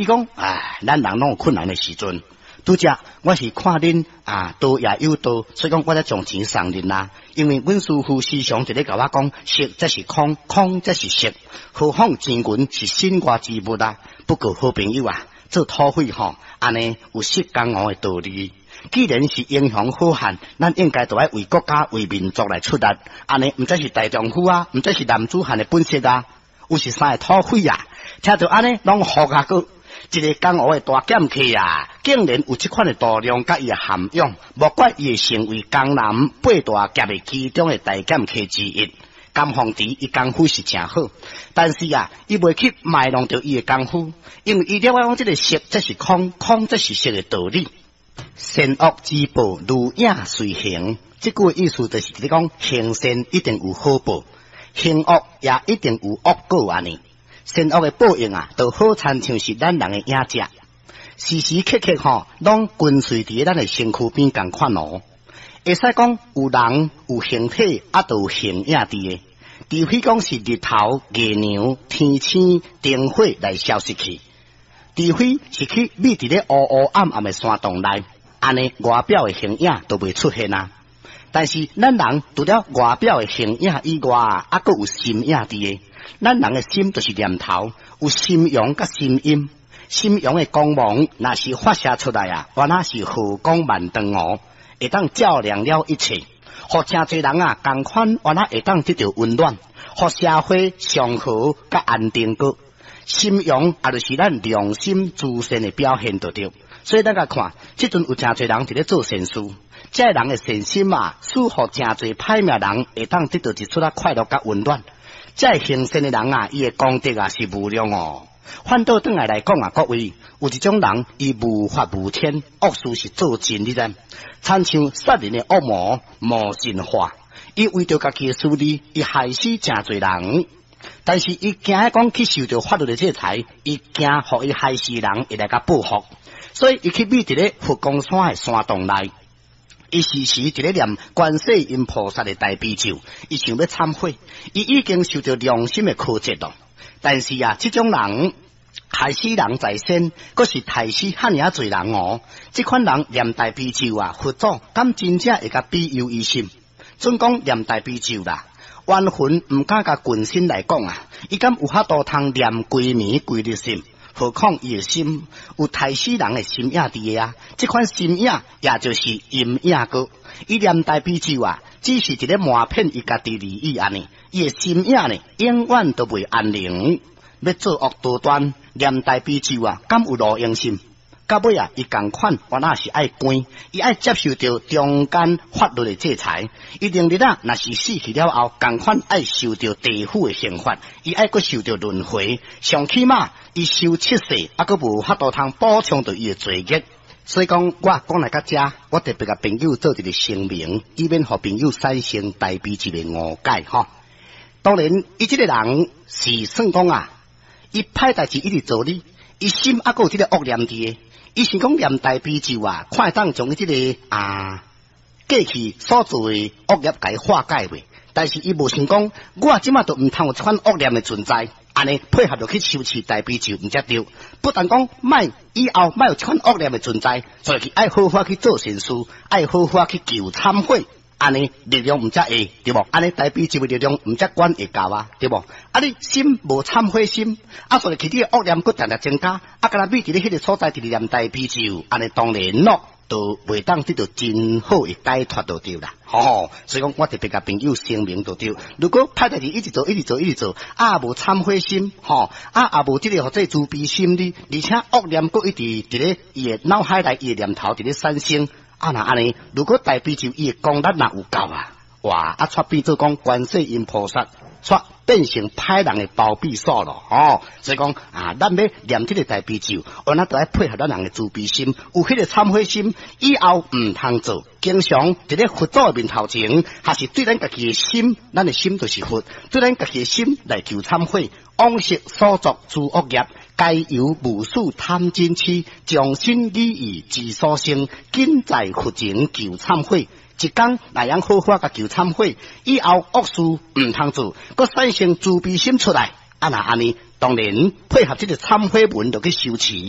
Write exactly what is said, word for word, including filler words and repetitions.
伊講，唉，咱人攏有困難的時陣。拄才我是看恁啊，道也有道，所以講我才將錢送恁啦。因為阮師父時常佇咧共我講，色則是空，空則是色，何況錢銀是身外之物啊。不過好朋友啊，做土匪吼，按呢有失江湖的道理。既然是英雄好漢，咱應該都愛為國家、為民族來出力。按呢，毋才是大丈夫啊，毋才是男子漢的本色啊。有是三個土匪啊，聽著按呢，攏服啊閣。一个江湖的大劍客啊，竟然有這款的度量佮伊的涵養，莫怪伊會成為江南八大俠的其中的大劍客之一。甘鳳池伊功夫是誠好，但是啊，伊袂去賣弄著伊的功夫，因為伊了解講這个色則是空，空則是色的道理。善惡之報如影隨形，這句意思就是佇咧講，行善一定有好報，行惡也一定有惡果按呢。善惡的報應啊，就好親像是咱人的影子，時時刻刻吼，攏跟隨佇咱的身軀邊仝款哦。會使講有人有形體，啊，都有形影佇的。除非講是日頭、月娘、天星、燈火來消失去，除非是去覕佇咧烏烏暗暗的山洞內，按呢外表的形影都袂出現啊。但是咱人除了外表的形影以外，啊，閣有心影佇的。咱人的心就是念頭，有心陽佮心陰。心陽的光芒，若是發射出來啊，原來是和光萬丈哦，會當照亮了一切，予誠濟人啊，仝款原來會當得著溫暖，予社會祥和佮安定閣。心陽也就是咱良心慈善的表現，就對。所以咱共看，這陣有誠濟人佇咧做善事，這个人的善心啊，使予誠濟歹命人會當得著一撮仔快樂佮溫暖。這个行善的人啊，伊的功德啊是無量哦。反倒轉來來講啊，各位有一種人，伊無法無天，惡事是做盡，你知？親像殺人的惡魔魔神化，伊為著家己的私利，伊害死誠濟人。但是伊驚講去受著法律的制裁，伊驚予伊害死人會來共報復，所以伊去覕佇咧佛光山的山洞內。伊時時佇咧念觀世音菩薩的大悲咒，伊想欲懺悔，伊已經受著良心的苛責咯。但是啊，這種人害死人在先，閣是刣死遐爾仔濟人哦。這款人念大悲咒啊，佛祖敢真正會共庇佑伊心？準講念大悲咒啦，冤魂毋敢共近身來講啊，伊敢有法度通念規暝規日心？何況伊的心有刣死人的心影佇的啊！這款心影也就是陰影閣。伊念大悲咒啊，只是一个瞞騙伊家己而已按呢。伊的心影呢，永遠都袂安寧。欲作惡多端，念大悲咒啊，敢有路用心？到尾啊，伊仝款，原來是愛關，伊愛接受著中間法律的制裁。伊明日啊，若是死去了後，仝款愛受著地府的刑罰，伊愛閣受著輪迴。上起碼伊受七世，猶閣無法度通補償著伊的罪孽。所以講，我講來到遮，我特別共朋友做一个聲明，以免予朋友產生大悲咒的誤解吼。當然，伊這个人是算講啊，伊歹代誌一直做哩，伊心猶閣有這个惡念佇的。伊想講念大悲咒啊，看會當將伊這个啊過去所做的惡業共伊化解袂？但是伊無想講，我這馬都毋通有這款惡念的存在，按呢配合落去修持大悲咒毋才對。不但講莫以後莫有這款惡念的存在，所以愛好好去做善事，愛好好去求懺悔。按呢力量毋才會對無？按呢大悲咒的力量毋才管會到啊，對無？啊，你心無懺悔心，啊，所以去你的惡念閣定定增加，啊，敢若覕佇咧彼个所在佇咧念大悲咒，按呢當然咯，都袂當得到真好的解脫就對啦。吼，所以講我特別共朋友聲明就對。如果歹代誌一直做，一直做，一直做，啊無懺悔心，吼，啊也無這个號做慈悲心哩，而且惡念閣一直佇咧伊的腦海內，伊的念頭佇咧產生。啊，若按呢，如果大悲咒伊的功力若有夠啊，哇！啊，煞變做講觀世音菩薩，煞變成歹人的包庇所咯，吼！所以講啊，咱欲念這个大悲咒，原來都愛配合咱人的慈悲心，有彼个懺悔心，以後毋通做。經常佇咧佛祖的面頭前，還是對咱家己的心，咱的心就是佛，對咱家己的心來求懺悔，往昔所作諸惡業，皆由無始貪嗔癡，將心離意之所生，緊在佛前求懺悔。一工若會好好共求懺悔，以後惡事毋通做，閣產生慈悲心出來。啊，若按呢，當然配合這个懺悔文就去修持。